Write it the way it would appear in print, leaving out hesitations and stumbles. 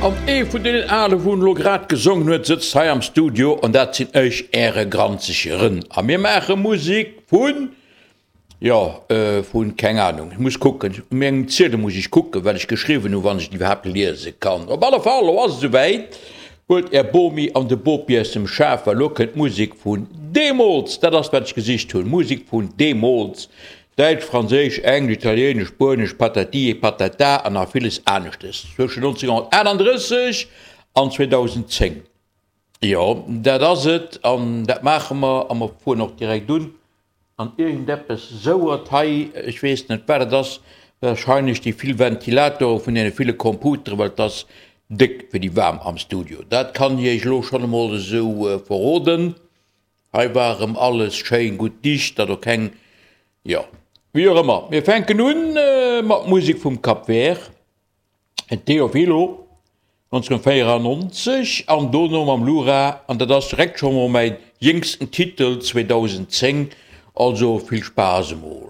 An ee vun deenen Ale wou elo grad gesongen huet sëtzt hei am Studio an dat sinn ech, äre granzege Rën. A mir maache Musek vun, jo, vun, keng Ahnung, ech muss kucken, u mengem Ziedel muss ech kucken, wat ech geschriwwen hunn, wann ech et iwwerhaapt liese kann. Op alle Fall, elo ass et esouwäit, huelt är Bomi an de Bopi aus dem Schaf, well elo kënnt Musek vun deemools, dat ass wat ech gesicht hunn, Musek vun deemools. Däitsch, Franséisch, Englesch, Italienesch, Spuenesch, Patati et Patata an nach villes aneschtes zwëschen 1938 an 2010. Jo, dat ass et an dat maache mer a mer fueren och direkt un an iergendeppes souert hei, ech weess net wat et ass, warscheinlech déi vill Ventilatore vun deene ville Computeren, well et ass déck wéi déi waarm am Studio. Dat kann ech iech elo schonn emol esou verroden. Hei war erëm alles schéin gutt dicht, datt och keng, jo, wéi och ëmmer. Mir fänken un mat Musek vum Cap Vert, Teofilo, 1994, an dono mam Lura, an dat ass direkt scho mol mäin jéngsten Titel, 2010, also vill Spaass emol.